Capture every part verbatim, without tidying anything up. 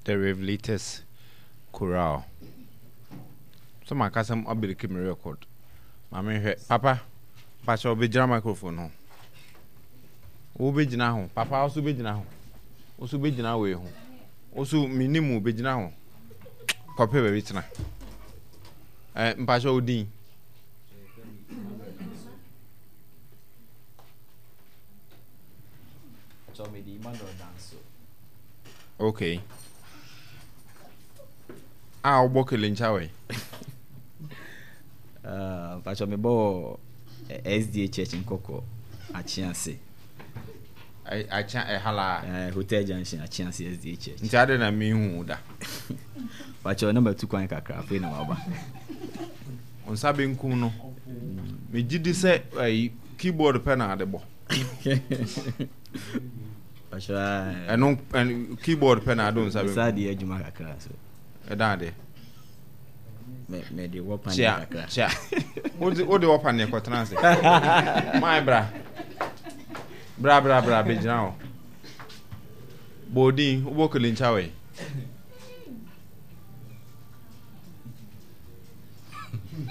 The Revelators Chorale. Sɛ maka sɛ abiriki me record. Ma menhwɛ. Papa, mpakyɛ wobɛgyina microphone ho. Wobɛgyina ho. Papa, wo so bɛgyina ho. Wo so bɛgyina wei ho. Wo so menim wo bɛgyina ho. Kɔpɛ baabi tena. Eh, mpakyɛ wo din. Okay. A wobɔ kelencha wɛ? Ah, mpakyɛ mebɔ wɔ S D A Church Nkɔkɔ Akyease. Akyea ɛhala? Uh, Hotel Junction, Akyease S D A Church. Nti ade na mehu da. Mpakyɛ na matu kwan kakra, afei na maba. Wo nsa benkum no, megye di sɛ ayi keyboard pɛ na ade bɔ. Mpakyɛ ɛno ɛno keyboard pɛ na ade wo nsa benkum. Saa deɛ, adwuma kakra so. Ɛda adeɛ. Me mede wɔ paneɛ kyia kakra. Kyia, wode wode wɔ paneɛ kɔtena ase. Maa bra bra bra bra, bɛgyina hɔ. Bɔɔdin wobɔ kelencha wɛ?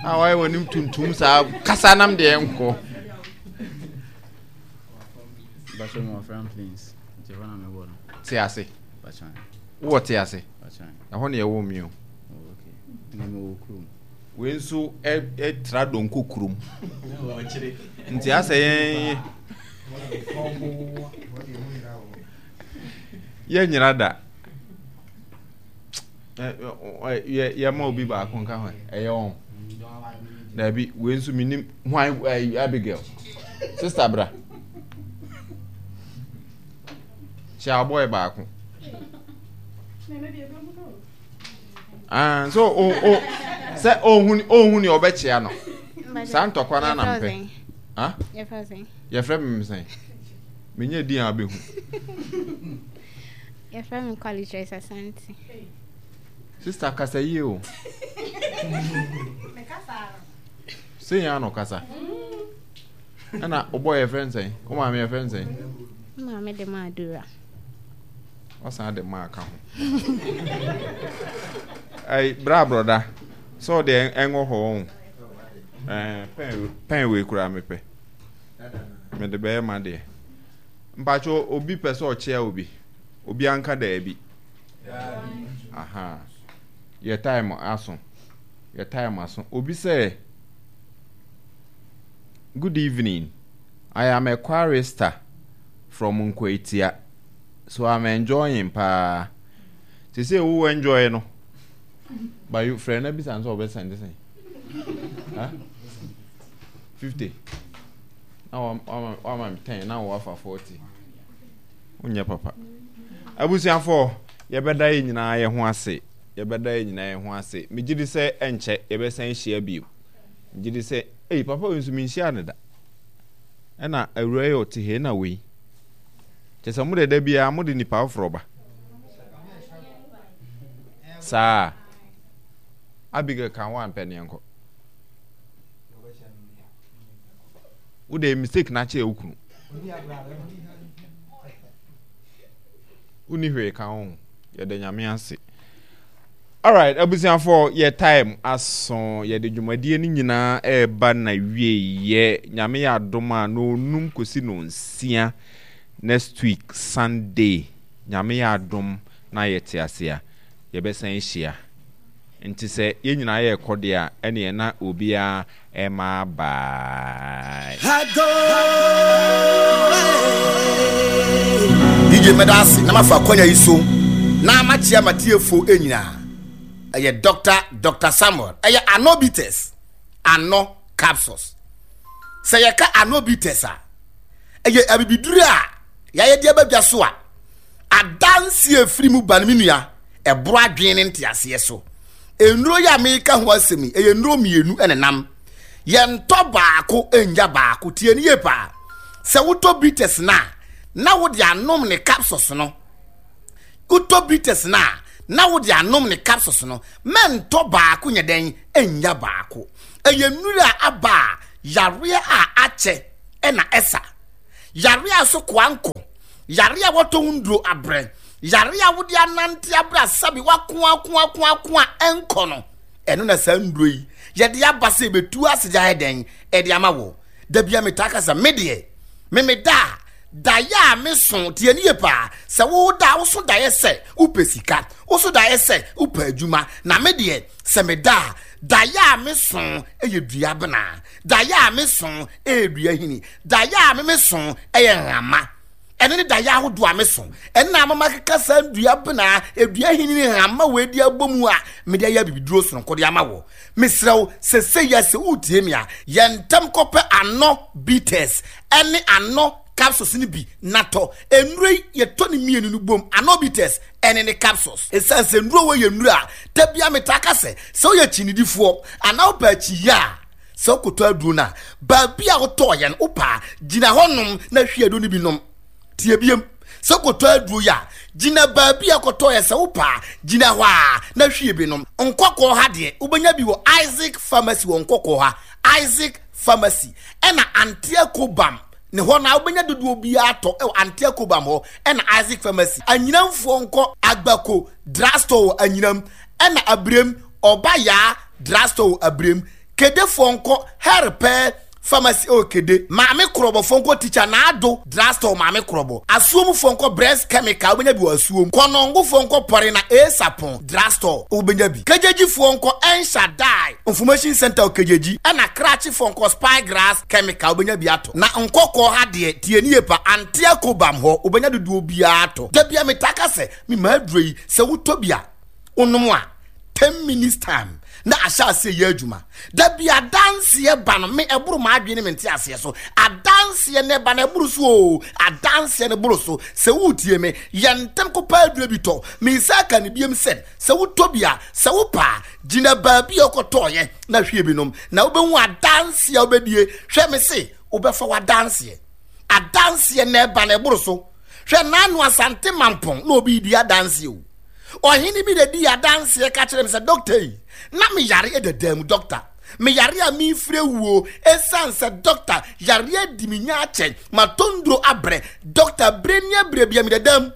A wayɛ w'anim tuntum saa, kasa nam deɛ nkɔ. Mpakyɛ mewɔ Franklins, nti ɛhɔ na mebɔ no. Te ase. Mpakyɛ. Wowɔ te ase? Mpakyɛ. Ɛhɔ ne ɛwɔ mi o. Oh, okay, na mewɔ kurom. Wei nso ɛtra donko kurom, nti asɛ yɛn yɛnyera da. Yɛma obi baako nka ho, ɛyɛ wɔn daabi. Wei nso menim hwan. Abigail, sister, bra kyɛ abɔɛ baako. Ah, so o o sɛ ohun ohun ni ɔbɛkyea no saa ntɔkwa no anam pɛ. Ah, yɛfrɛ me sɛn? Menyɛ din a wobɛhu. Yɛfrɛ me Kwali Joyce Asante. Sister, kasa yie o. Sɛ yɛn ano kasa ɛna wobɔ, yɛfrɛ no sɛn? Wo maame yɛfrɛ no sɛn? Maame de ma Adura. Ɔsan de maa ka ho. Ɛyi, bra brɔda sɛ ɔde ɛngɔ hɔ ɔn. Ɛɛ pɛn pɛn wei koraa mepɛ, mede bɛyɛ ma deɛ. Mpatsɔ, obi pɛ sɛ ɔkyea obi, obi anka daabi. Aha, yɛ time aso, yɛ time aso. Obi sɛ, "Good evening, I am a chorister from Nkwatia, so I'm enjoying paa." Sese wo enjoy no but you frɛ na bisa nso ɔbɛ send sɛn? Huh? Fifty na wama wama me ten na wafa forty. Wonyɛ papa. Abusuafoɔ, yɛbɛda yɛn nyinaa yɛn ho ase, yɛbɛda yɛn nyinaa yɛn ho ase. Megye di sɛ ɛnkyɛ yɛbɛsan ahyia bio. Megye di sɛ ei, papa wei nso menhyia ne da. Ɛna awura yi ɔte ha na wei kyɛ sɛ mode da biara mode nipa foforɔ ba saa. Abigail, ka ho ampɛ neɛ nkɔ. Wode mistake na akyerɛ wo kunu, wonni hwee ka ho. Yɛda Nyame ase. Alright, abusuafoɔ, yɛ time aso, yɛde dwumadie no nyinaa ɛreba na wie. Yɛ Nyame yɛ adom a, na onum kɔsi no nsia next week Sunday, Nyame yɛ adom na yɛte ase a, yɛbɛsan ahyia. Nti sɛ yɛn nyinaa yɛrekɔ deɛ a, ɛneɛ na obiara ɛma bye. D J, mɛda ase na mafa akwanya yi so na makyia matiefo nyinaa. Ɛyɛ Doctor Doctor Samuel. Ɛyɛ Anobites ano capsules. Sɛ yɛka Anobites a, ɛyɛ abibiduro a yɛayɛ de abadwa so a adansi efiri mu ba no, me nua, ɛboro adwene ne nteaseɛ so. Nnuro yi a meka ho asɛm yi, ɛyɛ nnuro mmienu ɛna nam. Yɛntɔ baako nya baako. Tie ne yie paa. Sɛ wotɔ bitters na na wode anom ne capsules no, wotɔ bitters na na wode anom ne capsules no, mɛntɔ baako nyɛ dɛn nya baako. Ɛyɛ nnuro a aba a yareɛ a akyɛ ɛna ɛsa yareɛ a so koa nkɔ, yareɛ a wɔtɔ ho nduro abrɛ, Yare a wode anante abra sabi wako ako ako ako a ɛnkɔ no. Ɛno na saa nduro yi yɛde aba sɛ ebetu ase gya ɛdɛn ɛde ama wɔ. Dabi a metaa kasa me deɛ me me da daeɛ a me so tie ne yie paa sɛ wo da wo so daeɛ sɛ wopɛ sika wo so daeɛ sɛ wopɛ adwuma na me deɛ sɛ me da daeɛ a me so ɛyɛ dua bena daeɛ a me so ɛyɛ dua hini daeɛ a me me so ɛyɛ nhama ɛne ne daeɛ ahodoɔ a me so ɛna amama keka saa dua bena edua hini ne nhama wɔ edi abɔ mu a mede ayɛ bibiduro sononko de ama wɔ. Mesrɛ wo sɛsɛ yɛ sɛ wotie me a yɛn ntɛm kɔpɛ ano bitters ɛne ano capsules ni bi natɔ nnuro yi yɛtɔ ne mmienu no bom ano bitters ɛne ne capsules. Ɛsiane sɛ nnuro wɔ yɛ nnuro a dabia metaa ka sɛ sɛ woyɛ kyinidifoɔ anaa wopɛ akyiyi a sɛ wokɔtɔ aduro no a baabi a wotɔɔ yɛn wopɛ a gyina hɔnom na hwie aduro no bi nom. Tie biem sɛ wokɔtɔ aduro yi a gyina baabi a wokɔtɔ yɛ sɛ wopɛ a gyina hɔ a na hwie bi nom. Nkɔkɔɔ ha deɛ wobɛnya bi wɔ Isaac Pharmacy wɔ Nkɔkɔɔ ha Isaac Pharmacy ɛna Antea Kobam ne hɔ na wobɛnya dodoɔ biara tɔ ɛwɔ Antea Kobam hɔ ɛna Isaac Pharmacy. Anyinamfoɔ nkɔ Agbako Drugstore wɔ Anyinam ɛna Abirem Ɔbayaa Drugstore wɔ Abirem. Kedefoɔ nkɔ Herpɛ Pharmacy ɛwɔ Kede. Maame Korɔbɔfoɔ nkɔ Teacher Naado Drugstore Maame Korɔbɔ. Asuomfoɔ nkɔ Breast Chemical wobɛnya bi wɔ Asuom. Kɔnɔngofoɔ nkɔ Pɔrena Esapɔn Drugstore wobɛnya bi. Kegyegyifoɔ nkɔ Enshadai Information Center wɔ Kegyegyi. Ɛna Krakyefoɔ nkɔ Spygrass Chemical wobɛnya bi atɔ. Na Nkɔkɔɔ ha deɛ tie ne yie pa Antea Kobam hɔ wobɛnya dodoɔ biara atɔ. Da bia metaa ka sɛ me maa aduro yi sɛ wotɔ bi a wonom a ten minutes time na ahyɛ aseɛ yɛ adwuma. Da bi adanseɛ ba no me ɛboro ma adwene me nte aseɛ so. Adanseɛ ne ba no ɛboro so o. Adanseɛ ne boro so. Sɛ wotie me yɛ ntɛm kɔpɛ aduro bi tɔ. Me nsa aka ne biem sɛ sɛ wotɔ bi a sɛ wopɛ a gyina baabi a wokɔtɔɔyɛ na hwie bi nom na wobɛhu adanseɛ a wobɛdie. Hwɛ me se wobɛfa w'adanseɛ. Adanseɛ na ɛba no ɛboro so. Hwɛ Nanu Asante Mampɔn na obi di adanseɛ o. Ɔhene bi na di adanseɛ ka kyerɛ me sɛ doctor yi na me yare ɛdada mu doctor. Me yare a mefiri wuo ɛsiane sɛ doctor yare adi me nya akyɛ matɔ nduro abrɛ doctor bere ne abrɛ bia me dada mu.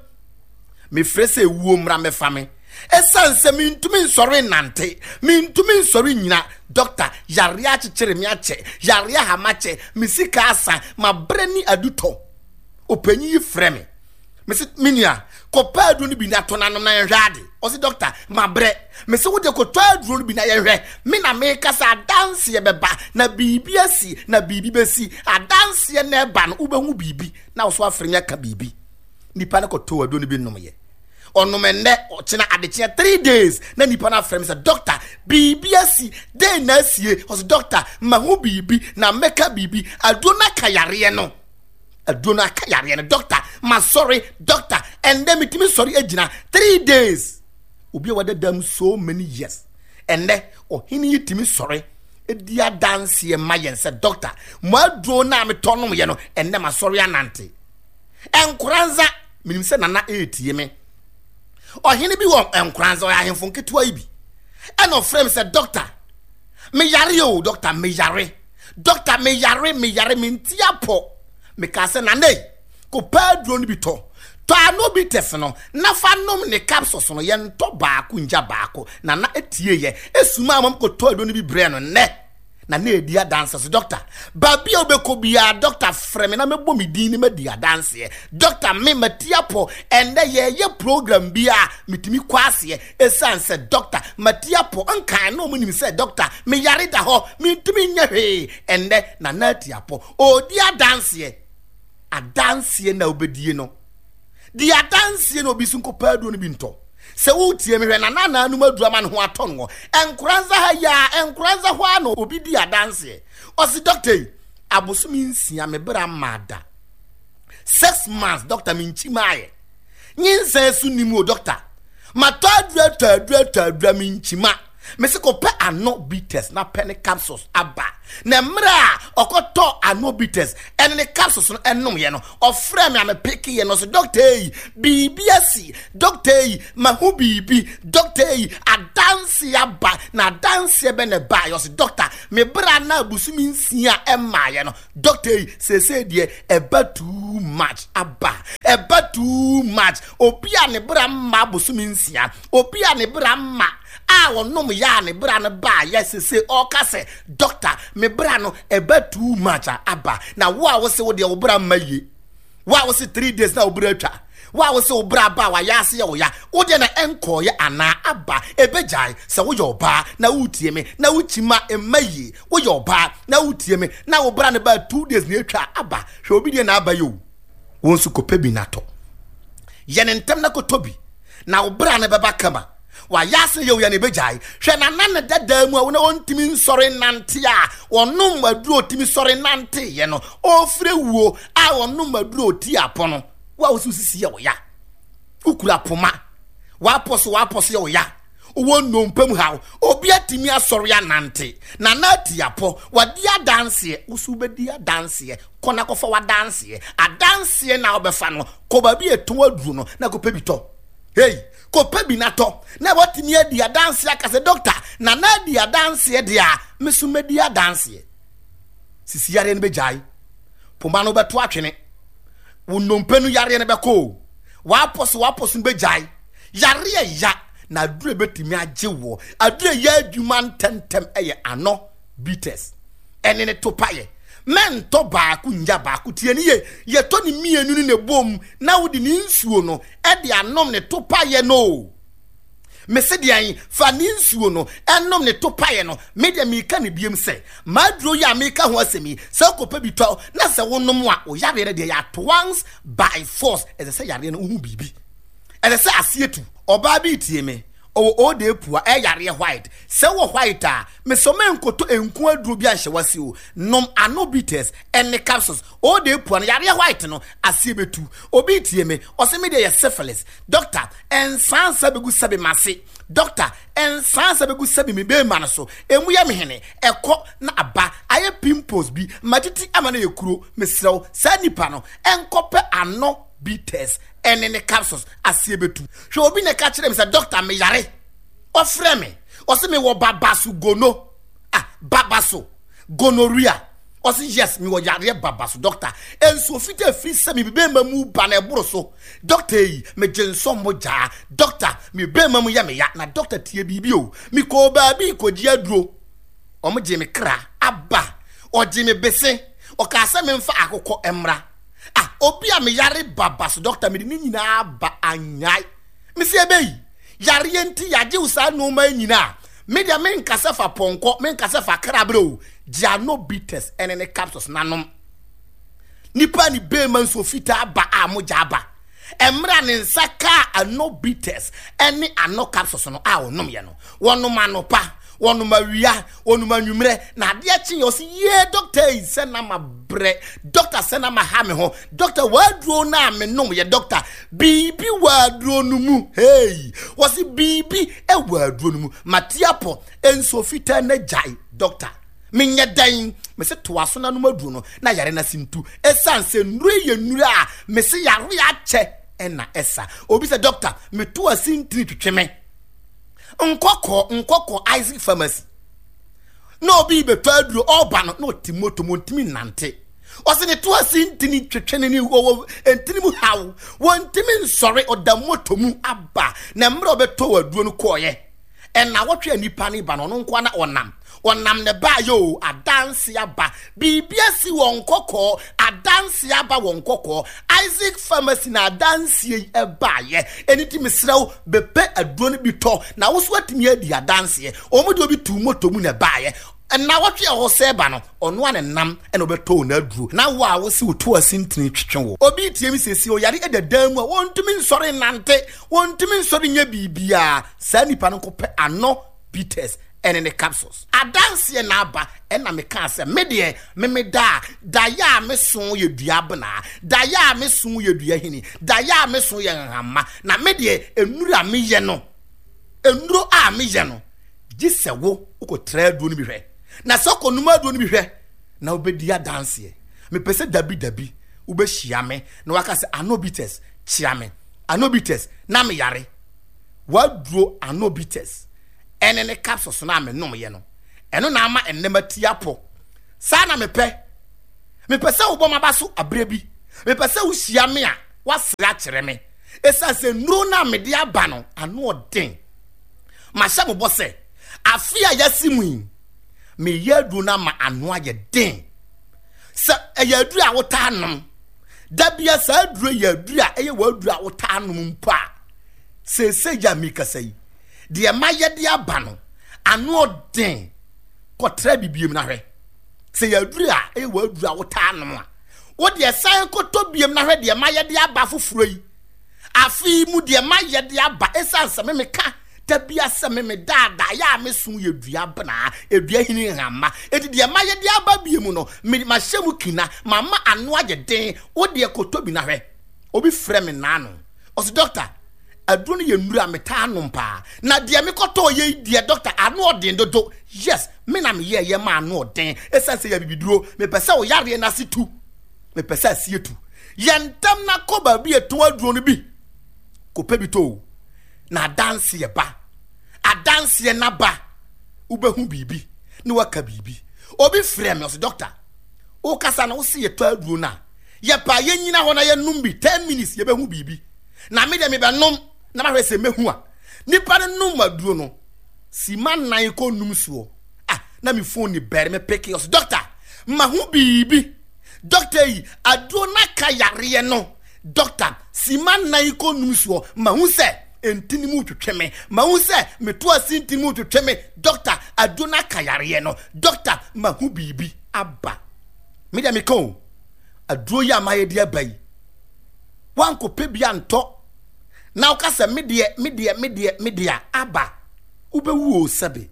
Mefrɛ sɛ wuo mmra mɛfa me ɛsiane sɛ mentumi nsɔre nnante mentumi nsɔre nyina doctor yare akyekyere me akyɛ yare ahama kyɛ me sika asa mabrɛ ne adutɔ. Ɔpanyin yi frɛ me mese me nua kɔpɛ aduro no bi na tɔ n'anom na yɛnhwɛ ade. Ɔse doctor mabrɛ. Mese wo deɛ kɔtɔ aduro no bi na yɛnhwɛ. Me na meka sɛ adanseɛ bɛba na biribi asi na biribi bɛsi. Adanseɛ na ɛba no wobɛhu biribi na wo so afrɛ me aka biribi. Nipa no kɔtɔ aduro no bi nomyɛ. Ɔnom ɛnnɛ ɔkyena adekyeɛ three days na nipa no afrɛ me sɛ doctor biribi asi den na asie. Ɔse doctor mahu biribi na mɛka biribi. Aduro no aka yareɛ no. Aduro no aka yareɛ no doctor ma sorry doctor ɛndɛ metumi sɔre agyina three days. Obi a wada dam so many years ɛndɛ ɔhene yi tumi sɔre edi adanseɛ ma yɛn sɛ doctor mo aduro no a metɔ nom yɛ no ɛndɛ ma sɔre anante. Nkoranza menim sɛ nana etie me. Ɔhene bi wɔ Nkoranza ɔyɛ ahemfo nketewa yi bi ɛna ɔfrɛ me sɛ doctor me yare o doctor me yare doctor me yare me yare me nti apɔ. Meka sɛ nana yi kɔpɛ aduro no bi tɔ tɔ ano bi tɛs no na fa nom ne capsules no yɛntɔ baako ngya baako. Nana etie yɛ esuma amam kɔtɔ aduro no bi brɛ no nnɛ na na edi adanse so doctor baabi a wobɛkɔ biara doctor frɛ me na mɛbɔ me din ne madi adanseɛ doctor me mati apɔ ɛnnɛ yɛyɛ program bi a metumi kɔ aseɛ ɛsiane sɛ doctor mati apɔ nkan na ɔmo nim sɛ doctor meyare da hɔ mentumi nyɛ hwee ɛnnɛ nana ati apɔ ɔdi adanseɛ adanseɛ na wobɛdie no di adanseɛ na obi so nkɔpɛ aduro no bi ntɔ. Sɛ wotie me hwɛ nana naanum aduro ama ne ho atɔ no Nkoranza ha yi a Nkoranza hɔ a na obi di adanseɛ ɔsi doctor yi abosome nsia me bra mma da six months doctor me nkyi maayɛ nyinsɛn so nim o doctor matɔ aduro atɔ aduro atɔ aduro me nkyi ma Mese kɔpɛ ano bitters na pɛ ne capsules aba. Na mmerɛ a ɔkɔtɔ ano bitters ɛne ne capsules no ɛnomyɛ no, ɔfrɛ me a mepeke yɛ no so, doctor yi, biribi asi, doctor yi, mahu biribi, doctor yi, adanse aba. Na adanseɛ bɛ na ɛbaeɛ? Ɔse doctor, me bra na abosome nsia ɛmmaeɛ no, doctor yi, seesei deɛ ɛba too much aba, ɛba too much. Obi a ne bra mma abosome nsia, obi a ne bra mma a ɔnom yɛ a ne bra no baa yɛ, sese ɔka sɛ doctor, me bra no ɛba too much a aba. Na wo a wose wo deɛ wo bra mma yie, wo a wose three days na wo bra atwa, wo a wose wo bra ba a wayɛ ase yɛ wo ya, wo deɛ na ɛnkɔɔyɛ anaa aba ɛbɛgyae. Sɛ woyɛ ɔbaa na wotie me na wokyi ma mma yie, woyɛ ɔbaa na wotie me na wo bra no ba two days na atwa aba, hwɛ obi deɛ na aba yɛ o, wo nso kɔpɛ bi na tɔ yɛ ne ntɛm na kɔtɔ bi na wo bra no bɛba kama. Wayɛ ase yɛ wo ya na ɛbɛgyae. Hwɛ nana ne dadaa mu a wona ɔntumi nsɔre nante a ɔnom aduro ɔtumi sɔre nante yɛ no, ɔfrɛ wuo a ɔnom aduro ɔti apɔ no. Wo a wo so sisi yɛ wo ya, wokura poma, wapɔ so wapɔ so yɛ wo ya, wowɔ nnompe mu haw, obi atumi asɔre anante, nana ati apɔ, wadi adanseɛ, wo so wobɛdi adanseɛ. Kɔ na kɔfa w'adanseɛ, adanseɛ na wobɛfa no, kɔ baabi a ɛtɔn aduro no na kɔpɛ bi tɔ. Hey, kɔpɛ bi na tɔ na watumi adi adanseɛ aka sɛ doctor, nana adi adanseɛ deɛ a, me so mɛdi adanseɛ. Sisi yareɛ no bɛgyae, poma no bɛto atwene, wo nnompe no yareɛ no bɛkɔ o, wapɔ so wapɔ so no bɛgyae. Yareɛ ya na aduro bɛtumi agye wɔ, aduro yɛ adwuma ntɛmntɛm ɛyɛ ano bitters ɛne ne topayɛ. Mɛntɔ baako nya baako, tie ne ye, yɛtɔ ne mmienu ne ne bom na wode ne nsuo no ɛde anom ne topayɛ no. Mese deɛn? Fa ne nsuo no ɛnom ne topayɛ no. Me deɛ meka ne biem sɛ maaduro yi a meka ho asɛm yi, sɛ wokɔpɛ bi tɔ na sɛ wonom a, wo yareɛ no deɛ yɛ at once by force. Ɛsɛ sɛ yareɛ no wohu biribi, ɛsɛ sɛ aseɛ tu. Ɔbaa bi tie me, ɔwɔ ode pua ɛyareɛ white. Sɛ wɔ white a, mesɔ menkɔtɔ nku aduro bi anhyɛ wase o, nom ano bitters ɛne capsules. Ode pua no yareɛ white no aseɛ bɛtu. Obi tie me, ɔsɛ me deɛ yɛ syphilis, doctor, ɛnsansa bɛgu sɛbe mase, doctor, ɛnsansa bɛgu sɛbe me bɛɛma no so, emu yɛ me hene, ɛkɔ na aba ayɛ pimples bi matiti ama no yɛ kuro. Mesrɛw saa nipa no ɛnkɔpɛ ano bitters ɛne ne capsules, aseɛ bɛtu. Hwɛ obi na ɛka kyerɛ me sɛ doctor, meyare, ɔfrɛ me, ɔsɛ mewɔ babaso gono, ah, babaso gonorrhea. Ɔsɛ yes, mewɔ yareɛ babaso doctor, nsuo fitaa firi sɛ me bɛɛma mu ba na ɛboro so, doctor yi, megye nsɔ mogyaa, doctor, me bɛɛma mu yɛ me ya. Na doctor tie biribi o, mekɔɔ baabi kɔgye aduro, ɔmo gye me kra aba, ɔgye me bese, ɔkaa sɛ memfa akokɔ mmra. Ah, obi a meyare babaso doctor, mede ne nyinaa ba anyae. Mesi ebe yi yareɛ nti yagye wo saa nneɛma yi nyinaa, me deɛ menkasa fa pɔnkɔ, menkasa fa krabrɛ o, gye ano bitters ɛne ne capsules nanom. Nipa ne bɛɛma nsuo fitaa ba a mogya aba, mmerɛ ne nsa kaa ano bitters ɛne ano capsules no a ɔnom yɛ no, wɔnom anɔpa, wɔnom awia, wɔnom anwummerɛ, na adeɛ kye yɛ, ɔsi yie doctor yi, sɛ na ma brɛ doctor, sɛ na ma ha me ho doctor, waduro na me nom yɛ doctor, biribi wɔ aduro no mu. Hey, wɔsi biribi ɛwɔ aduro no mu, matiapɔ nsuo fitaa na gyae doctor, menyɛ dɛn? Mese toa so nanom aduro no na yare na sintu, ɛsiane sɛ nnuro yɛ nnuro a mese yare akyɛ ɛna ɛsa. Obi sɛ doctor, meto asintiri twitwe me nkɔkɔ nkɔkɔ Isaac Pharmacy na obi bɛtɔ aduro, ɔba no na ɔte moto mu ntumi nante, ɔsɛ ne to asintiri twitwe ne ne wɔwɔ ntini mu haw, wɔntumi nsɔre, ɔda moto mu aba. Na mmerɛ ɔbɛtɔ aduro no kɔɔyɛ ɛna wɔtwe nipa ne ba no, ɔno nkoa na ɔnam ɔnam ne ba yɛ o, adanse aba, biribi asi wɔn kɔkɔɔ, adanse aba wɔn kɔkɔɔ Isaac Pharmacy na adanse yi ɛbaayɛ. Ɛni ti mesrɛw bɛpɛ aduro no bi tɔ na woso atumi adi adanseɛ. Wɔn de obi tu moto mu na ɛbaayɛ, ɛna wɔtwe ɛhɔ sɛ ba no, ɔno a ne nam ɛna ɔbɛtɔ wɔn aduro. Na wo a wosi woto asintini twitwe wo, obi tie mi siesie ɔyare ɛda dan mu a wɔntumi nsɔre nante, wɔntumi nsɔre nyɛ biribiara, saa nipa no nkɔpɛ ano bitters ɛne ne capsules, adanseɛ na aba. Ɛna meka sɛ me deɛ meme da daeɛ a meso yɛ dua abena, daeɛ a meso yɛ dua hini, daeɛ a meso yɛ nhama, na me deɛ nnuro a meyɛ no, nnuro a meyɛ no Gye sɛ wo wokɔtra aduro no bi hwɛ. Na sɛ wokɔnom aduro no bi hwɛ na wobɛdi adanseɛ. Mepɛ sɛ dabi dabi wobɛhyia me na waka sɛ Anobites kyea me. Anobites na meyare. W'aduro Anobites ɛne ne capsules no a menomyɛ no, ɛno na ama ɛnnɛ mati apɔ. Saa na mepɛ. Mepɛ sɛ wobɔ m'aba so aberɛ bi. Mepɛ sɛ wohyia me a woasere akyerɛ me. Ɛsiane sɛ nnuro no a mede aba no ano ɔden. Mahyɛ mo bɔ sɛ afe a yɛasi mu yi, meyɛ aduro no ama ano ayɛ den. Sɛ ɛyɛ aduro a wotaa nom, da bia saa aduro yɛ aduro a ɛyɛ w'aduro a wotaa nom mpo a, seesei yɛ a mekasa yi, deɛ mayɛ de aba no, ano ɔden. Kɔtra bibiem na hwɛ. Sɛ yɛ aduro a ɛyɛ w'aduro a wotaa nom a, wo deɛ san kɔtɔ biem na hwɛ deɛ mayɛ de aba foforɔ yi. Afe yi mu deɛ mayɛ de aba, ɛsiane sɛ me meka da bia sɛ me me daadaa yɛ a meso yɛ dua benaa, edua hini nhama. Enti deɛ mayɛ de aba bie mu no, me mahyɛ mu kina, mama ano ayɛ den. Wo deɛ kɔtɔ bi na hwɛ. Obi frɛ me naano, ɔse dɔkta, aduro no yɛ nnuro a metaa nom paa, na deɛ mekɔtɔɔ yɛ yi deɛ dɔkta ano ɔden dodo. Yes, me na meyɛɛ yɛ ma ano ɔden, ɛsiane sɛ yɛ abibiduro. Mepɛ sɛ wo yareɛ no ase tu, mepɛ sɛ aseɛ tu. Yɛ ntɛm na kɔ baabi a ɛtɔn aduro no bi, kɔpɛ bi tɔ o, na adanseɛ ba. Adanseɛ na ba, wobɛhu biribi na waka biribi. Obi frɛ me, ɔse dɔkta, wokasa no wose yɛtɔ aduro no a, yɛpɛ a yɛnyina hɔ na yɛnom bi ten minutes yɛbɛhu biribi. Na me deɛ mebɛnom na mahwɛ sɛ mɛhu a. Nipa no nom aduro no sima nnan kɔ num soɔ. Ah, na me phone ni bɛre me peke, ɔse dɔkta, mahu biribi. Dɔkta yi, aduro no aka yareɛ no. Dɔkta, sima nnan kɔ num soɔ, mahu sɛ ntini mu twetwe me. Mahu sɛ meto ase ntini mu twetwe me. Dɔkta, aduro no aka yareɛ no. Dɔkta, mahu biribi aba. Me deɛ meka o, aduro yi a mayɛ de aba yi, wankɔpɛ bi antɔ na woka sɛ me deɛ, me deɛ, me deɛ, me deɛ aba, wobɛwu o sɛbe.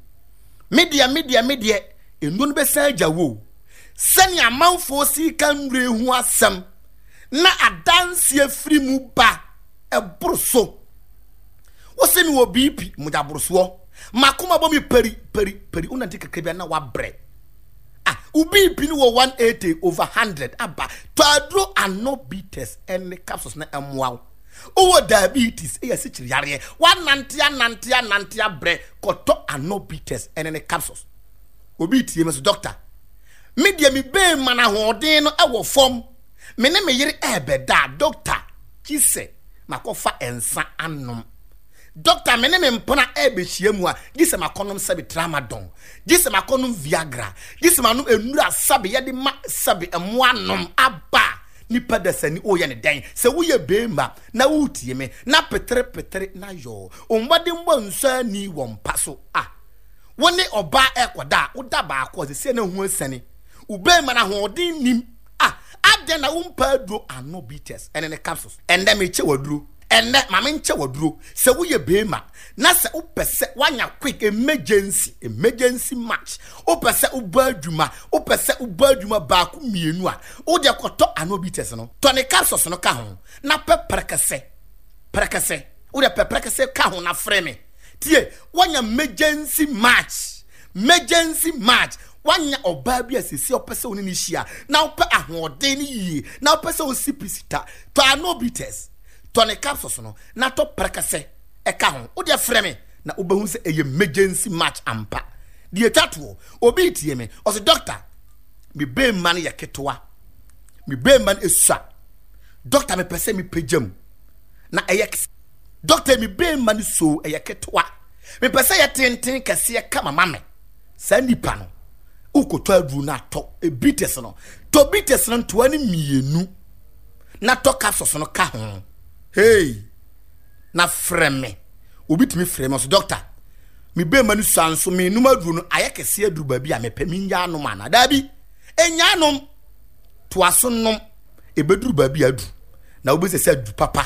Me deɛ, me deɛ, me deɛ, nnuro no bɛsan agya wo o. Sɛnea amanfoɔ si ka nnuro ho asɛm na adanseɛ firi mu ba ɛboro so. Wose me wɔ B P, mogya borosoɔ. Makoma bɔ me peri, peri, peri. Wonante kakra bi a na wabrɛ. Ah, wo B P no wɔ one eighty over hundred aba. Tɔ aduro ano bitters ɛne capsules na ɛmmoa wo. Wowɔ diabetes, ɛyɛ asikyire yareɛ. Wanante anante anante abrɛ, kɔtɔ ano bitters ɛne ne capsules. Obi tie me so, doctor, me deɛ me bɛn ma na ahoɔden no ɛwɔ fam. Me ne me yere ɛɛbɛda, doctor, gye sɛ makɔfa nsa anom. Doctor, me ne me mpena ɛɛbɛhyia mu a, gye sɛ makɔnom sɛbe tramadol, gye sɛ makɔnom Viagra, gye sɛ manom nnura sɛbe yɛde ma sɛbe mmoa nom aba. Nipa dasani woyɛ ne dɛn? Sɛ woyɛ beema na wotie me na petere petere na yɔɔ mmɔdenbɔ nsɔ ani wɔ mpa so a, wo ne ɔbaa ɛkɔda a, woda baako a sɛsɛ na ho asiane. Wo beema na ahoɔden nim a, adɛn na wompa aduro ano bitters ɛne ne capsules? Ɛnnɛ mekyɛ waduro. Ɛnnɛ ma menkyɛ waduro. Sɛ woyɛ beema na sɛ wopɛ sɛ woanya quick emergency, emergency match, wopɛ sɛ wobɔ adwuma, wopɛ sɛ wobɔ adwuma baako mmienu a, wode kɔtɔ ano bitters no, tɔ ne capsules no ka ho na pɛ prɛkɛsɛ, prɛkɛsɛ, wode pɛ prɛkɛsɛ ka ho na frɛ me. Tie, woanya emergency match, emergency match, woanya ɔbaa bi a sɛsi ɔpɛ sɛ wo ne ne hyia na wopɛ ahoɔden no yie na wopɛ sɛ wosi pisita, tɔ ano bitters, tɔ ne capsules no na tɔ prɛkɛsɛ ɛka ho. Wode frɛ me na wobɛhu sɛ ɛyɛ emergency match ampa. Deɛ ɛtwa toɔ, obi tie me, ɔse doctor, me bɛɛma no yɛ ketewa, me bɛɛma no esua, doctor mepɛ sɛ mepagya mu na ɛyɛ kɛse. Doctor me bɛɛma no so ɛyɛ ketewa, mepɛ sɛ yɛ tenten kɛseɛ kama ma me. Saa nipa no wokɔtɔ aduro no atɔ bitters no, tɔ bitters no ntoa no mmienu na tɔ capsules no ka ho. Hey, na frɛ me. Obi tumi frɛ me ɔse doctor, me bɛɛma no sua nso menum aduro no ayɛ kɛseɛ aduru baabi a mepɛ, menya anom anaa? Daabi, ɛnya anom, toa so nom, ɛbɛduru baabi a aduru na wobɛsɛ sɛ adu papa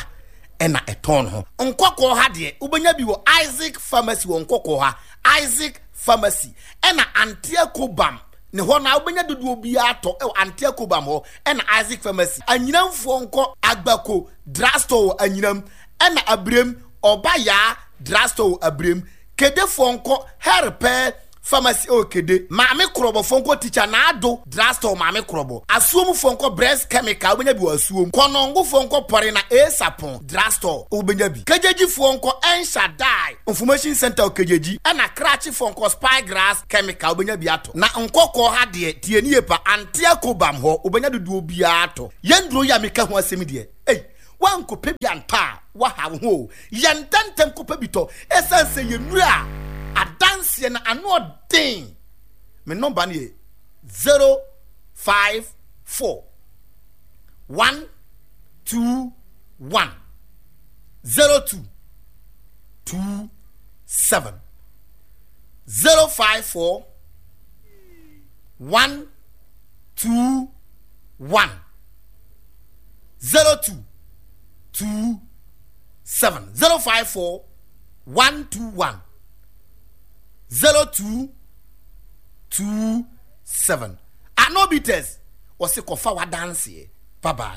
ɛna ɛtɔn ho. Nkɔkɔɔ ha deɛ wobɛnya bi wɔ Isaac Pharmacy wɔ Nkɔkɔɔ ha, Isaac Pharmacy ɛna Antea Kobam ne hɔ na wobɛnya dodoɔ biara tɔ ɛwɔ Antea Kobam hɔ ɛna Isaac Pharmacy. Anyinamfoɔ nkɔ Agbako Drugstore wɔ Anyinam ɛna Abirem Ɔba Yaa Drugstore wɔ Abirem. Kedefoɔ nkɔ Hɛrepɛ Pharmacy ɛwɔ Kede. Maame Korɔbɔfoɔ nkɔ Tikya Naado Drugstore Maame Korɔbɔ. Asuomfoɔ nkɔ Bress Chemical, wobɛnya bi wɔ Asuom. Kɔnɔngofoɔ nkɔ Pɔre na Esapɔn Drugstore, wobɛnya bi. Kegyegyifoɔ nkɔ Enshadai Information Centre wɔ Kegyegyi. Ɛna Krakyefoɔ nkɔ Spygrass Chemical, wobɛnya bi atɔ. Na Nkɔkɔɔ ha deɛ, tie nie pa, Antea Kobam hɔ, wobɛnya dodoɔ biara atɔ. Yɛn nnuro yi a meka ho asɛm yi deɛ, ei, Woankɔpɛ bi antɔ a, woaha wo ho o. Yɛ ntɛmntɛm kɔpɛ bi tɔ ɛsiane sɛ yɛ nnuro a adanseɛ no ano ɔden. Me nɔmba no yɛ zero five four one two one zero two two seven zero five four one two one. zero two two seven zero five four one two one zero two two seven. Anobites wɔsi kɔfa wadanseɛ. Bye bye.